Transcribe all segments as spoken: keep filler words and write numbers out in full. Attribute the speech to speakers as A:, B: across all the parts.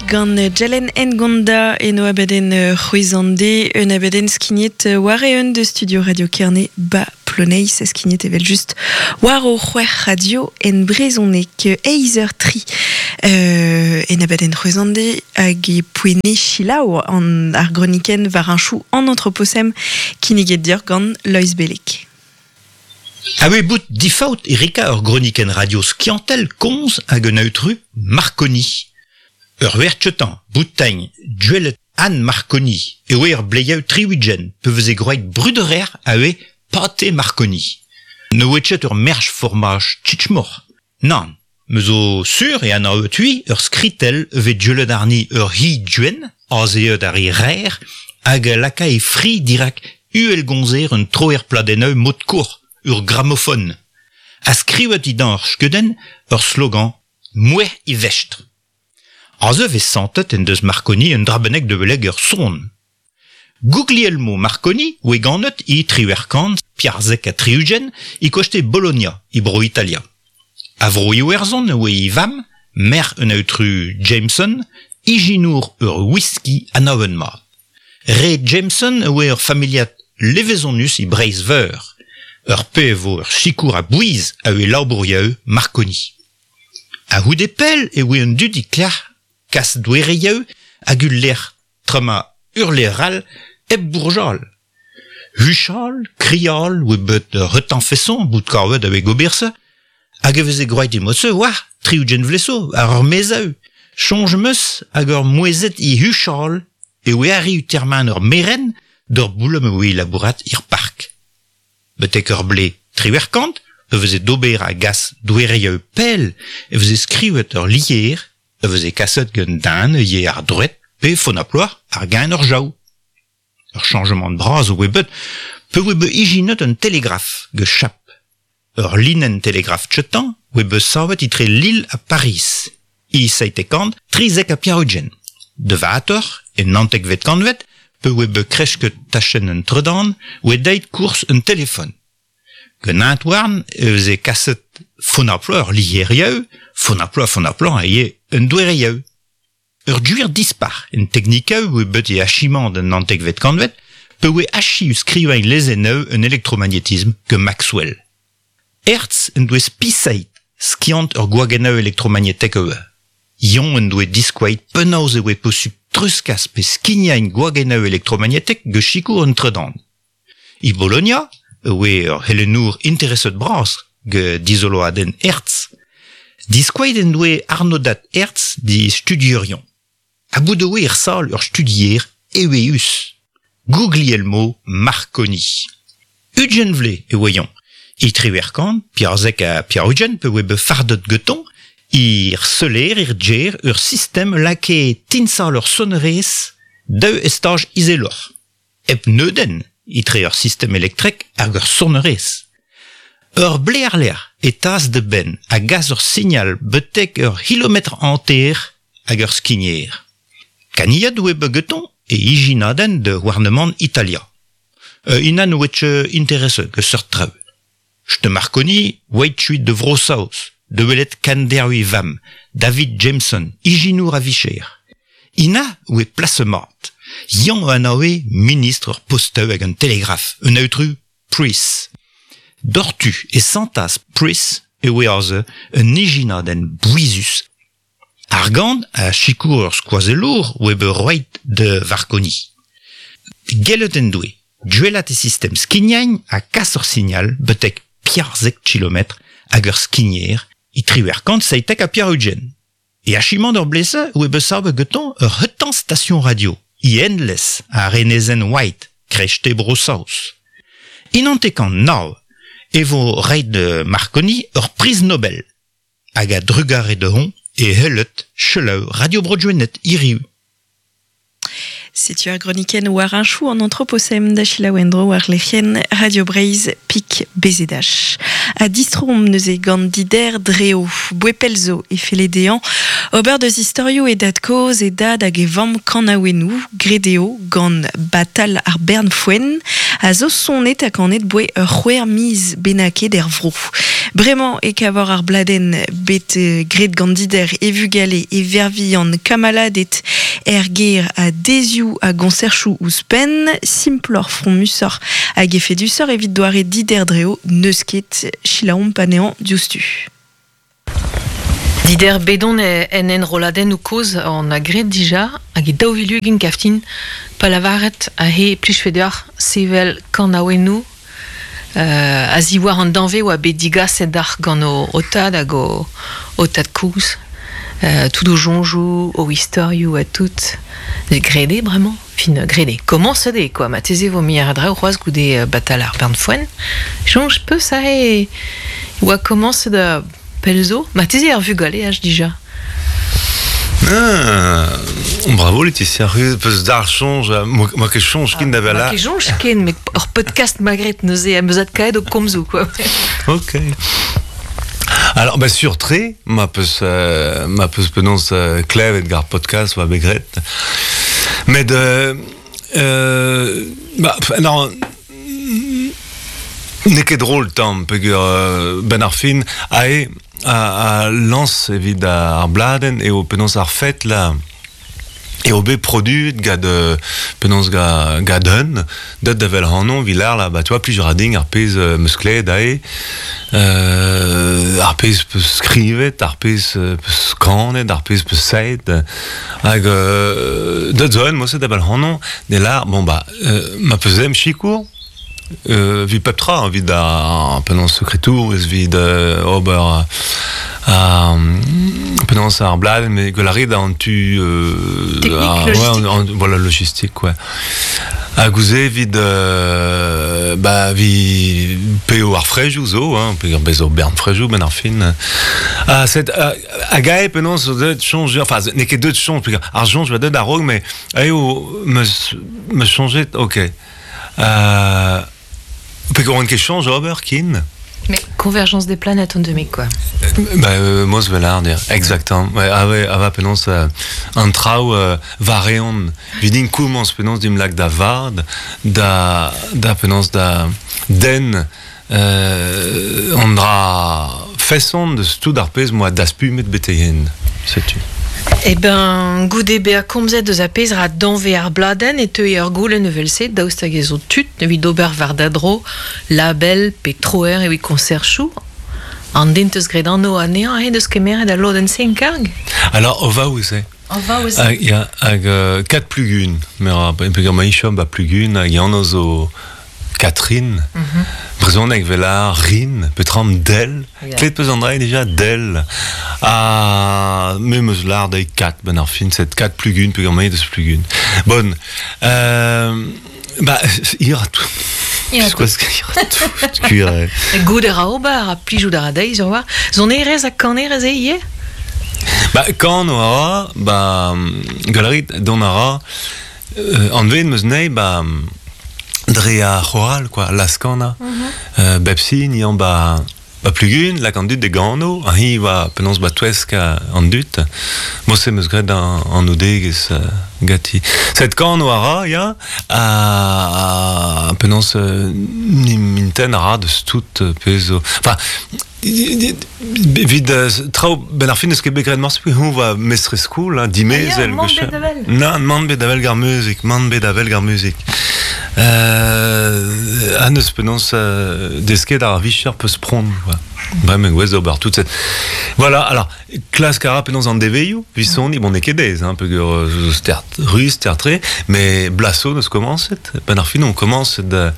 A: Gant Jalen Ngonda eno abadenn c'hwezande, un abadenn skignet war eeun de studio Radio Kerne ba Ploneiz, skignet evel just war o c'hwec'h radio en brezhoneg eizh eur tri euh, en abadenn c'hwezande hag e poene chilaou an ar groniken war un chou an anthropocène kinniget dior gant Lois Belek.
B: A oe bout difaot erika ur groniken radio skiantel konz hag un autru Marconi. Ur wertchetan, boutagn, duellet Anne Marconi, e oe ur bleiaou triwidjen, pe veze groet bruderer a oe pâté Marconi. Ne oe ur merch formaj tchitchmor. Nan, me zo sur e an a tui ur skritel ve duellet arni ur hi duen, aze eud ar i rer, hag laka e fri dirak uel gonzer un troer pladeneu mod kour, ur gramophone. A skrivet i dan ur skeudenn ur slogan Moueh i vestr. Aze vez santet en deus Marconi un drabenek de veleg ur son. Guglielmo Marconi oe ganet i triwerkant, piarzek a triugen, i koste Bologna, i bro Italia. A vro iwerzon oe i vam, mer un autru Jameson, ijinour ur whisky anaven mat. Re Jameson oe ur familiat levezonus i Breiz veur. Ur pe vo ur sikour a bouiz a oe labourieu Marconi. A houde pel e oe un dud i klac'h kas douereieu hag ul lec'h trema urleral hep bourjal. Huchal, krial, oe bet retan feson, bout karvet a oe goberse, hag e veze groet i motse, oa, triugen vleso, ar ur mezeu. Chonj meus hag ur mouezet i huchal, e oe arri u terman ur meren d'ur boulem oe labourat ir park. Betek ur ble triwerkant, e veze d'ober a gas douereieu pel, e veze skrivet ur lier, e veze kaset gant dan e ye ar droet pe fonaploar ar gain ur jaou. Ur changement de bras oe bet, pe oe be ijinet un télégraphe ge chap. Ur linen télégraphe tchetan oe be savet itre Lille a Paris. I seitekant trizek a piarugen. De vater, e nantek vet kantvet, pe oe be krechket tachen un tredan, oe deit kours un téléphone. Gen antwarn e veze kaset fonaploar lierieu, fonaploar fonaploar a ye un douereieu. Ur duir dispar, en teknikeu oe bet e achimant un nantekvet kantvet, pe oe achi u skrivain lezeneu un elektromagnetisme que Maxwell. Hertz en doe spisait skiant ur gwageneu elektromagnetek eue. Ion en doe diskouait penaos e oe posub truskas pe skignain gwageneu elektromagnetek ge chikour un tredan. I Bologna, oe ur helenour intereset bras ge dizoloaden Hertz, diskouait en doe arnodat Hertz di studierion. A bout oe ir sal ur studier eweus. Guglielmo Marconi. Ugen vle e oeyon. I triwerkant, piarzek a piarugen pe oe be fardet geton, ir seler, ir djer, ur sistem lake tinsal ur sonnerez daou estaj izelor. Ep neuden, itre ur sistem elektrek hag ur sonnerez. Ur blearler e tas de ben a gaz ur signal betek ur kilometr anter hag ur skigner. Kaniad oe be geton e ijinaden de gouarnement Italia. Euh, inan oetche interesse ge seurt treu. Ste Marconi oeit chuit de Vrosaus, de welet kanderui vam, David Jameson, ijinour a vicher. Ina oe plasemat. Yan an oe ministre ur posteu hag un télégraphe, un autru Price. Dortu e santas Price e oe aze un ijinaden bouizus. Argant a chikour ur skoazelour oe be roit de Varconi. Gellet en doe, duelat e sistem skignain a kas ur signal betek piarzek kilometr hag ur skigner i triwerkant seitek a piarugen. E achimant ur blese oe be sabe geton ur hetan station radio, i endless a renezen White, krechte Brosaus. Inantekant nav e vo reit de Marconi ur priz Nobel, hag a drugare de hon e hellet cheleau radio Brodjuenet iriu.
A: Setu ar groniken war un chou an anthropocène da Wendro war lec'hien Radio Breiz pik bezedach. A distrom neuze gant dider dreo, bouepelzo e fele dean, ober deus istorio e dad koz e dad hag e vamm kanaouennou, gredeo gant batal ar bern foen, A zo sonet a kanet boe ur c'hwer miz benake der vro. Bremañ e kavor ar bladen bet gret gant dider e vugale e vervian kamaladet er ger a dezioù a gonserchou ouzhpenn, simplor frommusor hag efedusor evit doare dider dreo neus ket chilaom panean diouzhtu.
C: Dider bedon en enroladenn ou koz an a gret dija hag e daou vilugin kaftin pa lavaret a he plij deoc'h sevel kanaouennoù euh, a ziwar an danve oa bet digaset d'ar gant o, o tad hag o, o tad kouz euh, tout o jonjou, o istorioù a tout grede bremañ fin grede comment se de quoi ma teze vo mi ar dra o c'hoaz goude batal ar bern foen jonj peu ça e oa commence da pelzo ma teze ar vugale ach dija.
D: Ah, bravo Laetitia, peus d'ar chonj, moi ket chonj ken da vela.
C: Ma ket chonj ken, mais ur podcast magret neuze am eus adkaet o komzou quoi.
D: Ok. Alors, bah, sur tre, ma peus, euh, ma peus penons euh, klevet gar podcast oa begret. Met, euh, euh, bah, non, n'eo ket drôle tamm, peogwir euh, ben ar fin, ae, a, a lans evit ar bladen eo penaos ar fet la eo bet produit gad penaos ga gad un deut da vel hanon vilar la ba tu vois plusieurs ading ar pezh euh, meus klevet ae euh, ar pezh peus skrivet ar pezh peus kanet ar pezh peus saet hag euh, deut zo un moset da vel hanon ne lar bon ba euh, ma peus em chikour Euh, vi pep tra, evit ar penaos sekretour, ez vid euh, ober ar penaos ar bladenn, mais gwell a an tu...
C: Euh, Technique, ar,
D: logistique. Ouais, an, an, voilà, logistique, ouais. Ha gouze evit euh, ba, vi peo ar frejou zo, hein, pe bezo bern frejou ben ar fin. Ah, set, a gae penaos zo deut chonj, enfin, n'eo ket deut chonj, ar chonj va deut a-raok, mais eo meus, meus chonjet, ok. Euh, Peogwir on ket chañj ober kin.
C: Mais convergence des planètes on demi quoi.
D: Bah euh, mos velar dir, exactement. Ouais, ah ouais, ah va penaos euh, an traoù euh, vareon. Vidin komañs penaos dim lak da vard, da da penaos da den euh, an dra feson de tout ar pezh moa daspumet betehen. Setu.
C: Eh ben, goude bezañ komzet deus a pezh ra danve ar bladenn e teu ur goulenn evel-se daoust hag ez zo tud evit ober war da dro label pe troer evit konserchoù an den teus graet anv anezhañ he deus kemeret al lodenn-se en karg?
D: Alors, o va ouzh
C: O va ouzh
D: Hag, ya, hag euh, kat plugun, mer peogwir ma ichom ba plugun hag anv zo Catherine, mm -hmm. brezhoneg vel ar rin, petram del, yeah. Klet peus an dra déjà del. Ha me meus lar dezhi kat ben ar fin, set kat plugun, peogwir ma deus plugun. Bon, euh, ba, ir a tout.
C: Ir
D: a tout. Kuir.
C: Gout a ra ober, a plijout a ra dezhi, sur war. Sonerezh ha kanerezh eo ivez?
D: Ba, kan a ra, ba, galerit don a ra, euh, anvet meus nei, ba, dre ar c'horal, quoi, laskana. Mm -hmm. euh, bepsi, ni an ba, ba plugun, lak an dud de gano, an hi va penaos ba touesk an dud. Mose meus graet an, an oudegez euh, gati. Set kano a ra, ya, a, a penaos euh, ni minten a ra deus tout pezh zo. Enfin, evit traoù ben ar fin eus ket bet graet morse hon va mestrez skol, hein, dimezel.
C: Ah, ya, man bet avel.
D: Nan, man bet avel gar muzik, man bet avel gar muzik. Euh, an eus penaos euh, desket ar vicher peus pront, quoi. Bremañ gwez d'ober tout cette... Voilà, alors, klask a ra penaos an deveioù, visoni, bon, n'eo ket aes, hein, peogwir zo stert ruz, stert tre, mais blaso neus komañset. Ben ar fin on komañset da...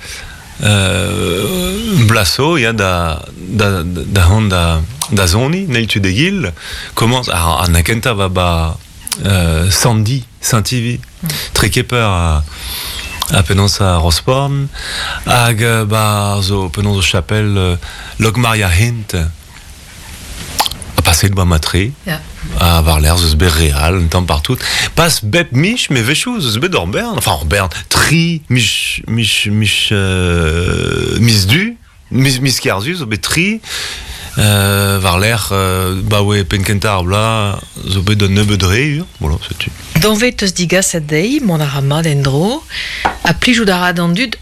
D: Euh, blaso, ya da da da hon da da zoni, neil tu de gil, commence ar an akenta va ba euh, Sandy, Saint-Ivy, mm. Trekeper a a penaos a Rosporn, hag ba zo penaos o chapel euh, Logmaria Hint a paset ba matre,
C: yeah.
D: A war l'air zeus bet real, un tamm partout. Pas bep mich, mais vechou zeus bet ur bern, enfin ur bern, tri, mich, mich, mich, euh, mis du, mis, mis kerzu, zo bet tri, euh, war l'air, euh, ba oe penkenta ar bla, zo bet un nebeud re, voilà, setu.
C: Danvet eus digaset dezhi, mont a ra mat en-dro, a plijout a ra d'an dud,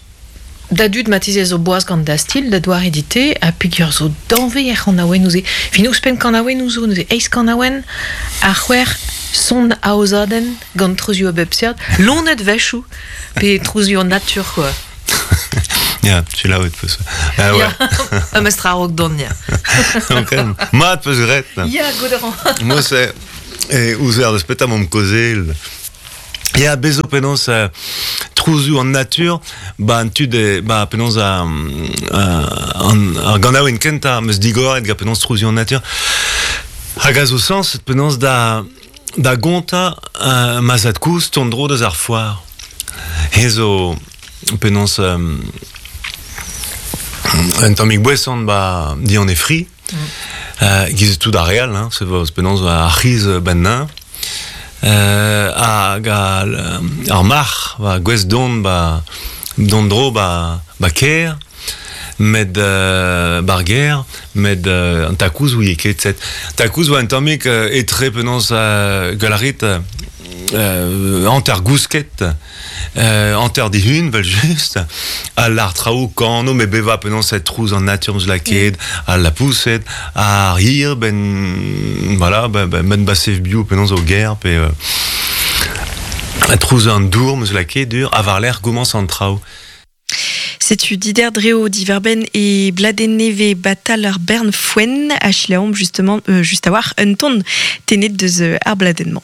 C: Da dud matizez zo boaz gant da stil, da doar edite, ha peogwir zo danve er c'hanaouenn ouze. Fin ouzhpenn kanaouenn ouzo, neuze eizh kanaouenn, ar c'hwec'h son aozadenn gant trouzioù a bep seurt, lonet wechoù, pe trouzioù an natur, quoi.
D: Ya, tu l'as peus. Ah ouais.
C: Ya, ha mestra a-raok dont, ya.
D: Ok. Mat peus graet.
C: Ya, gout a ran.
D: Moi, c'est... E ouzer deus petra m'omp kaozeal. Ya, bezo penaos euh, trouzioù an natur, ba an tud e, ba penaos a, an, ar ganaouenn kentañ meus digoret ga penaos trouzioù an natur. Hag a zo sens penaos da, da gontañ euh, ma zad-kozh tont dro deus ar foar. He zo penaos euh, un tammig boeson ba di an e fri. Mm. Euh, giz tout ar real, hein, se vo penaos ar c'hiz ben nain. Euh, hag ar marc'h ba gwez don ba don dro ba ba ker med euh, bar ger med euh, an takouz ouie ket set takouz oa un tammig euh, etre penaos euh, galarit euh, hanter gousket euh, hanter dihun vel just a l'ar traoù kano me beva penaos set trouz an natur eus la ket a la pouset a rir ben voilà ben ben ben basev bio penaos o ger pe euh, a trouz an dour meus la ket dur a var l'air goumans an traoù.
A: Setu Dider Dreo diverben e Bladeneve batal ar bern foen a chilaomp justement euh, just a war un ton tenet deus ar bladennement.